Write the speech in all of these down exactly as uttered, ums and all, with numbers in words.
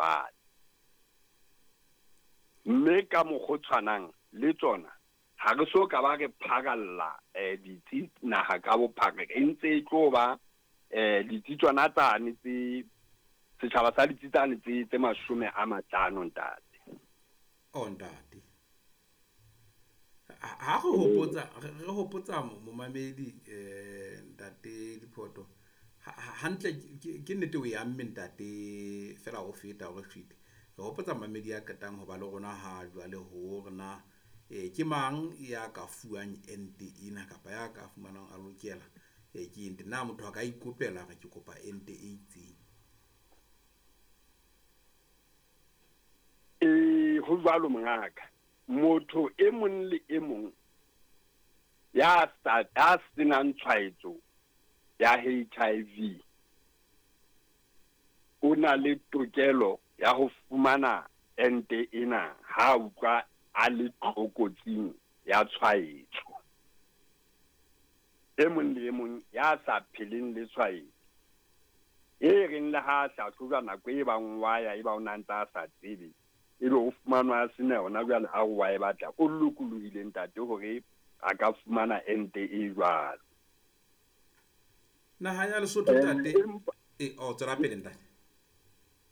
jwale. Mme ka mokgwa o tshwanang le tsona ha re so ka ba re pharalla eh ditsi naha ka bophara, e ntse e tlo ba eh ditsi tsona tsane tse setjhaba sa ditsi tsane tse tse mashome a mahlano ntate. Oh ntate, ha re hopotsa re hopotsa momamedi eh ntate Diphoto hantle ke nnete o ya mme ntate fela o feta hore fite re hopotsa mamedi ya qetang ho ba le rona ha jwale ho rena e ke mang ya ka fuwang ente ena kapa ya ka fumanang a lokela e ke ente na motho a ka ikopela re ke kopa ente e itseng. E ho jwalo mongaka, motho e mong le e mong ya sa ya senang tshwaetso ya H I V o na le tokelo ya ho fumana ente ena ha utlwa a le tlokotsing ya tshwaetso. E mong le e mong ya sa pheleng le tshwaetso e reng le ha hlahlojwa nako e bang wa ya e ba o na ntse a sa tsebe ebe o fumanwa a sena yona jwale ha o wa e batla, o lokolohile ntate hore a ka fumana ente e jwalo. Naha ya Lesotho ntate e o tswela pele ntate.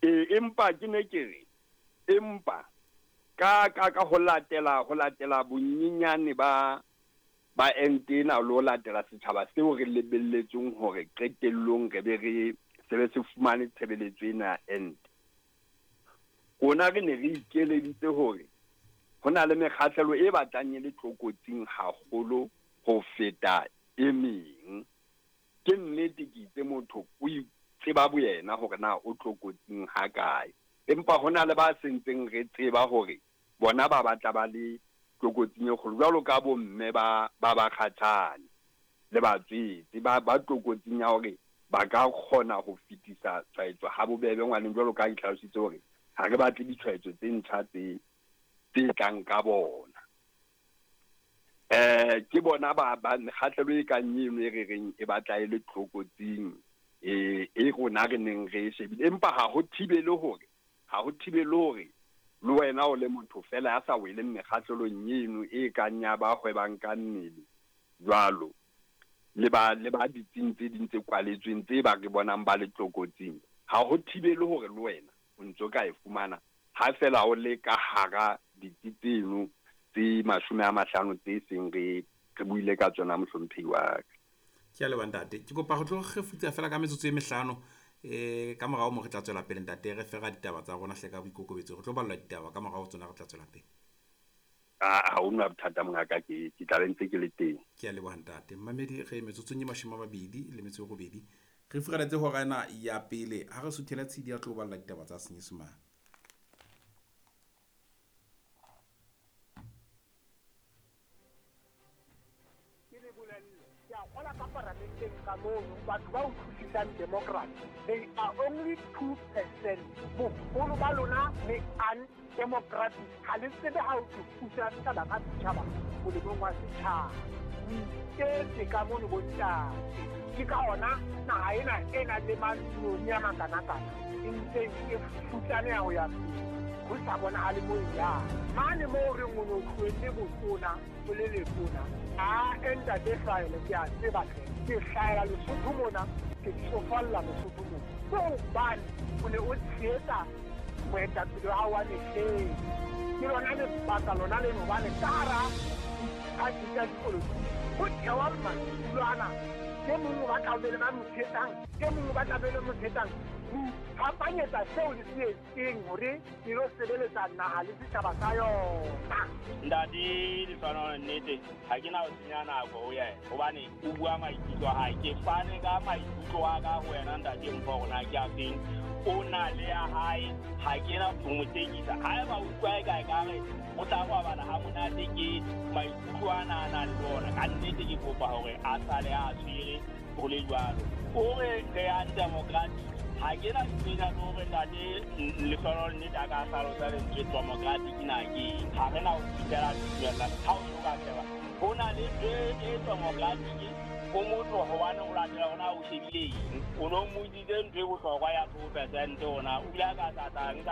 E empa ke ne ke re empa ka ka ka ho latela ho latela bonyenyane ba ba ente ena le ho latela setjhaba seo re lebelletseng hore qetellong re be re se be se fumane tshebeletso ena ya ente. Rona re ne re ikeleditse hore ho na le mekgahlelo e batlang e le tlokotsing haholo ho feta e meng. Ke nnete ke itse motho o itseba boyena hore na o tlokotsing ha kae, empa ho na le ba sentseng re tseba hore bona ba batla ba le tlokotsing e kgolo jwalo ka bomme ba ba ba kgatshane le batswetse ba ba tlokotsing ya hore ba ka kgona ho fetisa tshwaetso ha bobebe ngwaneng jwalo ka ditlhalositse hore ha re batle ditshwaetso tse ntjha tse tse tlang ka bona. Eh ke bona ba ba mekgahlelo e kang eno e re reng e batla e le tlokotsing e e rona re neng re e shebile, empa ha ho thibele hore ha ho thibele hore le wena o le motho fela ya sa weleng mekgahlelong eno e kang ya ba hwebang ka mmele jwalo le ba le ba ditsing tse ding tse kwaletsweng tse ba re bonang ba le tlokotsing, ha ho thibele hore le wena o ntso ka e fumana ha fela o le ka hara ditsi tseno tse mashome a mahlano tse seng re re buile ka tsona mohlomphehi wa ka. Ke a leboha ntate, ke kopa ho tlo kgefutsa fela ka metsotso e mehlano eh ka morao mo re tla tswela pele ntate re fera ditaba tsa rona hle ka boikokobetso, re tlo ballwa ditaba ka morao tsona re tla tswela pele. A ha hona bothata mongaka, ke ke tla be ntse ke le teng. Ke a leboha ntate. Mmamedi re metsotsong e mashome a mabedi le metso e robedi re furaletse hora ena ya pele ha re suthela tshidi ya tlo balla ditaba tsa Senyesemane. Batho ba utlwisisang democracy, they are only two percent. Boholo ba lona le undemocratic, ha le tsebe ha o thusa setjhaba ka setjhaba molemong wa setjhaba. O iketse ka mono bontate, ke ka ona naha ena e nang le matlong a makanakana e ntseng e futsaneha ho ya pele, ho sa bonahale mo e yang. Mane moo re o no tlohelle botona o le letona, a ntate Hlahele ke a tseba hle, ke hlahela Lesotho mona, ke tsofalla Lesotho mona. Ke hobane o ne o tshehetsa moetapele wa hao wa mehleng. Ke lona lebaka lona leno hobane ka hara diphathi tsa dipolotiki ho thewa madulo ana, e mong o batla ho be le ba mo tshehetsang, e mong o batla be le mo tshehetsang. Ho iphapanyetsa seo le se etseng hore e lo sebeletsa naha le setjhaba sa yona. Ntate Lehlohonolo, nnete ha ke na ho senya nako ho yena hobane o bua maikutlo a hae. Ke fane ka maikutlo a ka ho wena ntate Mpho hore na ke a feng, o na le ya hae, ha ke na ho mo tekisa. Haeba o utlwa eka ekare o tla robala ha monate ke maikutlo ana a nang le ona, ka nnete ke kopa hore a sale a tshwere ho le jwalo. O re re undemocratic, ha ke na tsena le hore ntate Lehlohonolo nnete a ka hlalosa lentswe democratic na ke eng. Ha re na ho fihlela dumella ha o soka sheba ho na le ntho e democratic o motho hobane o latela hona o shebile eng, o no mmotsitse ntho e bohlokwa ya two percent ona o ile a ka tla nka